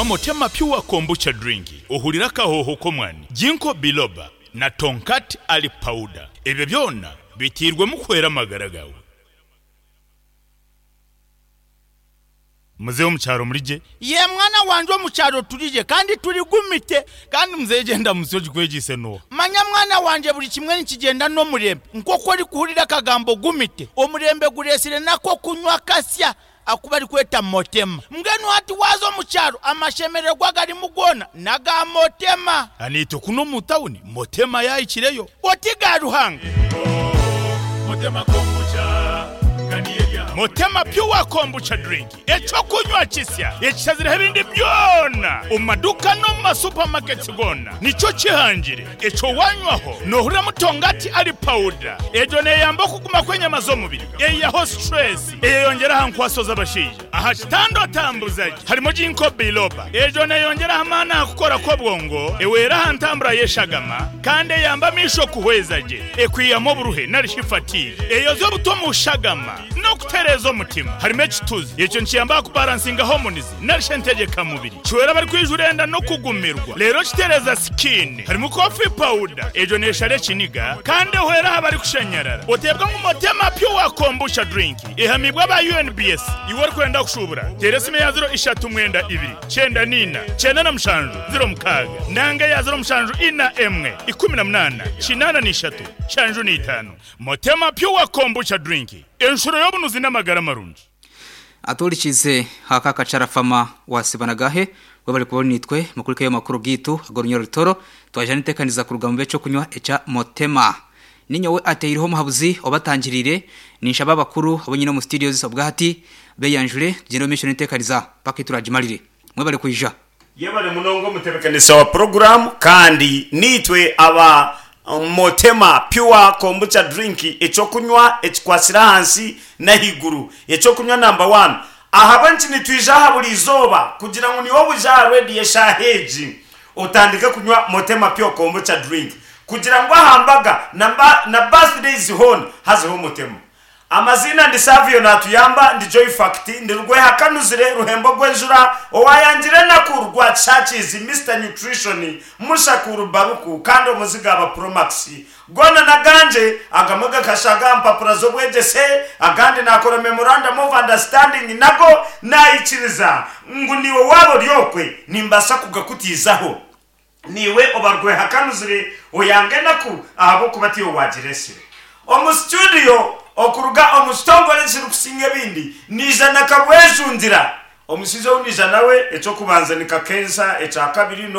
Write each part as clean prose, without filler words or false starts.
Nywa Motema Pure Kombucha Drink ohurire akahooho k'omwani, Ginkgo Biloba na Tongkat Ali Powder. Ebyo byona biteirwemu kuhwera amagara gaawe. Muzehe omu kyaro muri gye? Yee mwana wangye omu kyaro turi gye kandi turi gumite. Kandi muzehe gyenda musyo ogikwegyeise n'oha? Manya mwana wangye buri kimwe nikigyenda n'omurembe. Nk'oku orikuhurira akagambo gumite, omurembe gureetsire n'ak'okunywa kasya aku barikweta Motema. Mbwenu hati waaza omu kyaro amashemererwa agarimu goona n'aga Motema. Naitwe kunu omu tawuni Motema yaahikireyo. Oti ga Ruhanga. Motema Pure Kombucha Drink, eky'okunywa kisya ekishazireho ebindi byona omu maduuka n'omu ma supermarkets goona nikyo kihangire. Ekyo wanywaho nohuriramu tongati ali powder. Egyo neyamba okuguma kw'enyama z'omubiri, eyihaho stress, eyeyongyera aha nkwaso z'abashaija. Aha kitanda otambuza gye harimu Ginkgo biloba. Egyo neyongyera aha maani aha kukora kw'obwongo, ehwera aha ntambura y'eshagama, kandi eyamba amaisho kuhweza gye. Ekwihamu oburuhe nari shi fatigue. Eyoza obutwa omu shagama n'okutereeza omutima. Harimu ekituzi. Ekyo nikiyamba aha kubaransinga hormones nari shi entegyeka mubiri. Kihwera abarikwijura enda n'okugumirwa. Reero kitereeza skin. Harimu coffee powder. Egyo neeshara ekiniga kandi ehwera aha barikushanyarara. Oteebwa ngu Motema Pure Kombucha Drink. Ehamiibwe aba UNBS. Iwe orikwenda kushuubura, teera esimu eya ziro ishatu mwenda ibiri, kyenda n'ina, kyenda na mushanju, ziro mukaaga, nanga eya ziro mushanju ina emwe, 18, 83, nshanju n'itaano. Motema Pure Kombucha Drink, enshuro y'obunuzi n'amagara marungi. Atuhurikiize aka Kacharafama wa Sibanagahe webare kuba ori naitwe mukurikeyo amakuru gaitu ag'orunyoro rutoro. Twaija n'enteekaniza kuruga mu b'eky'okunywa ekya Motema. Ninyowe ateireho omuhabuzi obatangiriire, ninshaba abakuru abu nyine omu studios obwahati beyanjure tugyende omu maisho n'enteekaniza paka ei turagimarire. Mwebare kwija. Yebare munonga omutebekanisa wa puroguramu kandi niitwe aba Motema Pure Kombucha Drink ekyokunywa ekikwatsire ahansi n'ahaiguru ekyokunywa namba wani ahabw'enki nitwija aha buri izooba kugira ngu niiwe oije aha rediyo eshaaha egi otandike kunywa Motema Pure Kombucha Drink kugira ngu aha mbaga na birthdays hoona hazeho Motema. Amaziina ndi Savio Natuyamba, ndi Joy Fact, ndi Rwehakanuzire, Ruhembo Gwenjura, Owayangire Enaku, Rwakishakiizi, Mister Nutrition, Mushakuru Baruku kandi omuziga aba Promax. Goona n'agangye, agamwe gakashaaga aha mpapura z'obwegyese, agandi naakora Memorandum of Understanding nago naikiriza ngu niiwe waaba ori okwe nimbaasa kugakutiizaho. Niiwe oba rwehakanuzire oyanga enaku ahabw'okuba tiiwe waagireetsire. Omu situdiyo okuruga omu kitongore ekirikusinga ebindi, naija na Kabwejungira. Omushaija ou naija nawe, eky'okubanza ni Kakensa, ekyakabiri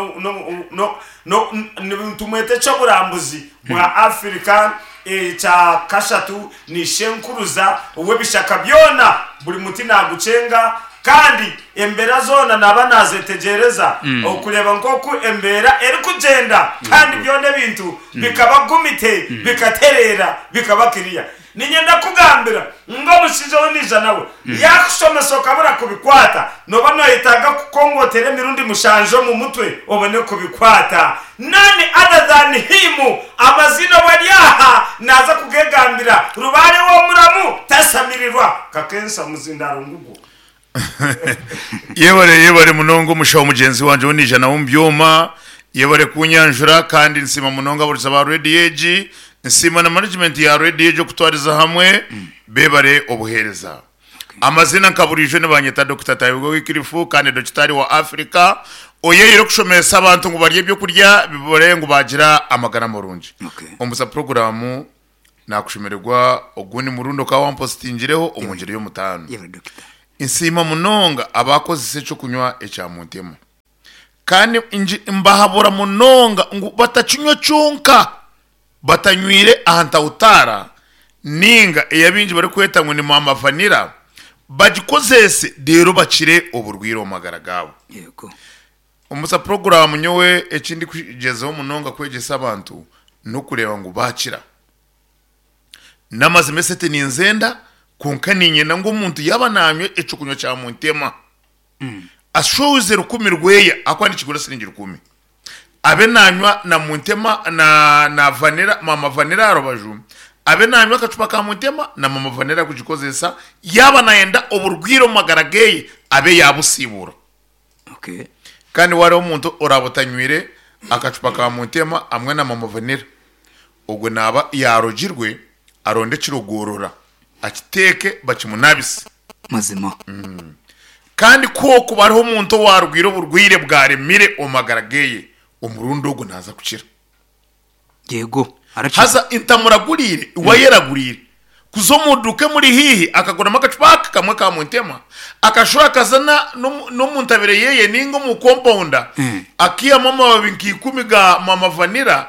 nitumweta eky'oburambuzi bwa Africa, ekya kashatu ni Ishenkuruza ow'ebishaka byona, buri muti naagucenga kandi embeera zoona naaba naazetegyereza okureeba nk'oku embeera erikugyenda kandi byona ebintu bikaba gumite, bikatereera, bikaba kiriya. Niinyenda kukugambira ngu omushaija ou naija nawe yaakushomesa okabura kubikwata, nooba nooyetaaga kukongotera emirundi mushanju omu mutwe obone kubikwata. None other than him, amaziina obu ari aha naaza kugegambira, Rubaare w'omuramu tasamirirwa. Kakensa muzindaaro ngugwo. Yebare yebare munonga omushaho mugyenzi wangye ou naija nawe omu byoma yebare kunyanjura kandi nsiima munonga abahurikiza ba rediyo egi nsiima na management ya rediyo egi okutwariza hamwe bebare obuhereza amazina nka buriijo nibanyeta Dokita Tayebwa Wycliffe kandi dokitaari wa Africa oyeyire okushomesa abantu ngu barye ebyokurya bibore ngu bagira amagara marungi Okay. omusa puroguramu Nakushemererwa ogundi murundi okaba wampositingireho omu ngyeri y'omutaano. Yebare Dokita. Nsiima munonga abakozesa eky'okunywa ekya Muntema. Kandi ngi- mbahabura munonga ngu batakinywa kyonka batanywire aha ntawutaara ninga ei abaingi barikweta ngu ni Mama Vanilla, bagikozese reero bakire oburwaire omu magara gaabo. Yego. Omusa puroguraamu nyowe eki ndikugyezaho munonga kwegyesa abantu n'okureeba ngu baakira. N'amazima esente ninzenda kwonka niinyenda ngu omuntu yaaba naanywa eky'okunywa kya Muntema ashohoze rukumi rweye ahakuba nikigura siringi rukumi abe naanywa na Muntema na na vanilla maama vanilla aha rubaju abe naanywa akacupa ka Muntema na maama vanilla arikugikozesa yaaba naayenda oburwaire omu magara geeye abe yaabusiibura. Okay. Kandi wareeba omuntu oraaba otanywire akacupa ka Muntema hamwe na Mama Vanilla, ogwe naaba yaarogirwe aronde ekirogorora akiteeke bakimunabise. Mazima. Kandi ku hokuba hariho omuntu owaarwire oburwaire bwaremire omu magara geye, omurundi ogu naaza kukira. Yego, arakira. Haza ntamuraguriire, iwe ayeraguriire. Kuza omu duuka emuri haihi akaguramu akacupa aka kamwe ka Muntema, akashuba akaza n'omu ntabire yeye ninga omu kompawunda, akaihamu amababi nka ikumi ga Mama Vanilla,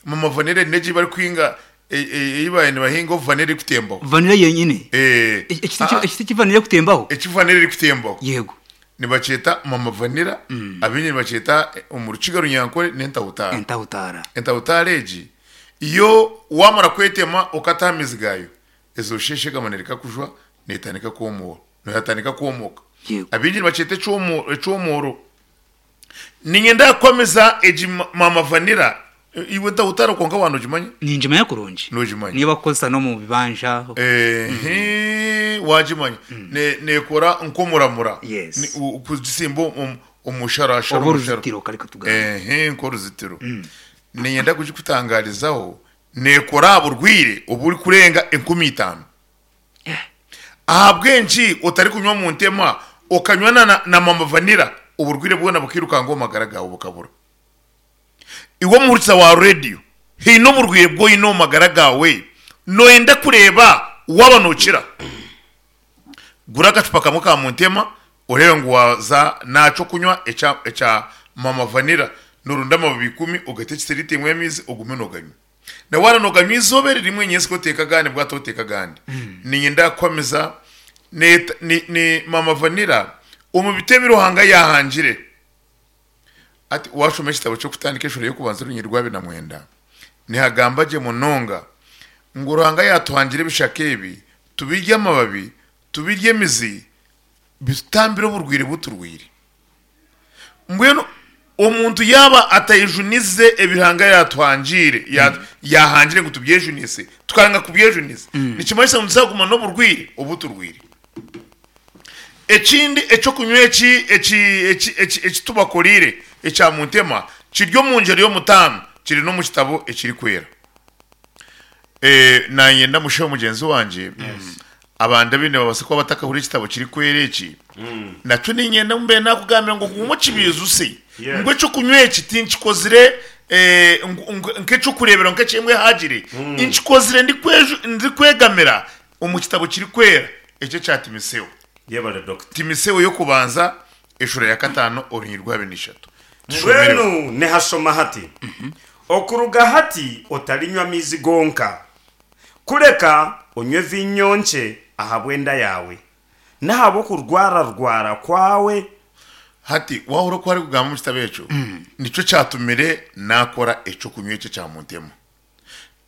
Mama Vanilla eri n'egi ei barikuhinga, ei baabaire nibahinga obu vanilla erikutembaho. Vanilla yenyine? Eh. Ekiti eki vanilla erikutembaho? Eki vanilla erikutembaho. Yego. Nibakyeta Mama Vanilla, abaingi nibakyeta omu Rukiga Runyankore n'entahutaara. Entahutaara. Entahutaara egi yo waamara kwetema okata aha mizi gaayo, ezo eshagama neereka kujwa neetandika kwomoora, neetandika kwomoka. Yego. Abaingi nibakyeta ekyomoro. Niinyenda kukwamiza egi Mama Vanilla, iwe entahutaara kwonka waaba noogimanya? Ningimanya kurungi. Noogimanya. Niyo barikukozesa n'omu bibanja. Ehe, waagimanya. Neekora nk'omuramura. Yes. Kugisimba omusharashara. Oba oruzitiro kare katugambe. Ehe, nk'oruzitiro. Niinyenda kugikutangarizaho, neekora aha burwaire oburikurenga 5000. Ahabw'enki otarikunywa Muntema okanywa na Mama Vanilla oburwaire bwona bukirukanga omu magara gaawe bukabura? Iwe omuhurikiza wa rediyo, haine oburwaire obu oine omu magara gaawe nooyenda kureeba waaba nookira? Gura akacupa kamwe ka Muntema oreebe ngu waaza n'aha ky'okunywa ekya Mama Vanilla nooronda amababi ikumi ogate ekisiriita emwe y'amaizi ogume nooganywa. Na waaba nooganywa eizooba eri rimwe nyentsya oteeke agandi bwata oteeke agandi. Niinyenda kukuhamiza ni, ni Mama Vanilla omu biti ebi Ruhanga yaahangire. Hati waashoma ekitabo ky'okutandika eshuura y'okubanza orunyiriri rwa 29, nihagamba gye munonga ngu Ruhanga yaatuhangira ebishaka ebi tubirye amababi, tubirye emizi, bitutambire oburwaire bu turwaire. Mbwenu omuntu yaaba atayejunize ebi Ruhanga yaatuhangiire, yaahangire ngu tubyejunise, tukaranga kubyejunisa, nikimanyisa ngu nituza kuguma n'oburwaire obu turwaire. Ekindi eky'okunywa eki eki eki eki eki tubakoreire ekya Muntema kiri omu ngyero y'omutaano kiri n'omu kitabo ekirikwera. Naanye ndamushaho mugyenzi wangye abandi abaine nibabaasa kuba batakahurira ekitabo kirikwera eki nakyo niinyenda ngu mbe naakugambira ngu ogume okibiijuse ngu eky'okunywa eki tinkikozire nk'eky'okureeberaho nk'eky'embwa ehaagire nkikozire ndikwegamira omu kitabo kirikwera ekyo ekya Timiseo. Yebare Doctor. Timiseo y'okubanza eshura ya katano orunyiriri rwa 23. Tushomereho. Mbwenu nihashoma hati, Okuruga hati otarinywa maizi gonka, kureka onywe viinyo nkye ahabw'enda yaawe, n'ahabw'okurwararwara kwawe. Hati waahurira oku arikugamba omu kitabo ekyo, nikyo kyatumire naakora eky'okunywa eki ekya Muntema.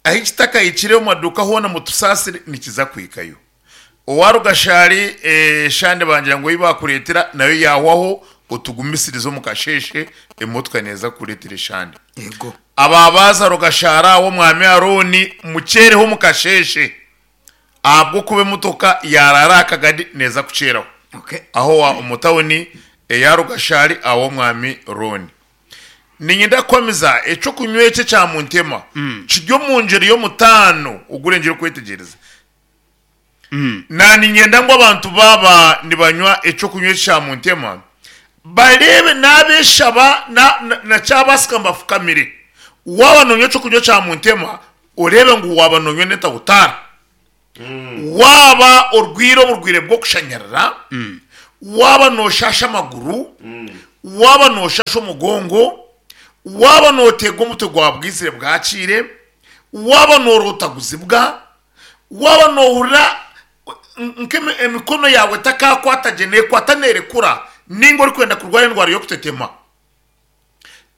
Ahi kitakahikire omu maduuka hoona mutusaasire nikiza kuhikayo. Owa Rugashari eshande bangira ngu ei baakureetera nayo yaahwaho otugumisirize omu kasheeshe emotoka neeza kukureetera eshande. Yego. Aba baaza Rugashari aho Omwami Arooni mukyereho omu kasheeshe ahabw'okuba emotoka yaaraara aha kagadi neeza kukyeraho. Okay. Aho omu tauni eya Rugashari aho Omwami Rooni. Niinyenda kukuhamiza, eky'okunywa eki ekya Muntema kiri omu ngyero y'omutaano ogurengire okwetegyereza. Na niinyenda ngu abantu baaba nibanywa eky'okunywa eki kya Muntema, bareebe n'abeeshaba na, na, na kyabaasika ngu bafukamire. Waaba noonywa eky'okunywa kya Muntema, oreebe ngu waaba noonywa n'entahutaara. Waaba orwaire oburwaire bw'okushanyarara, waaba nooshaasha amaguru, waaba nooshaasha omugongo, waaba nooteega omutwe gwa bwizire bwakiire, waaba noorootaguzibwa, waaba noohurira nk'emikono yaawe etakaakwata gye, neekwata neerekura, nainga orikwenda kurwara endwara y'okutetema.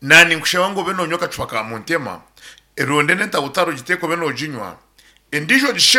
Naninkushaba ngu obe nonywa akacupa ka Muntema, eronde n'entahutari ogiteeke obe noginywa, endijo ogishe.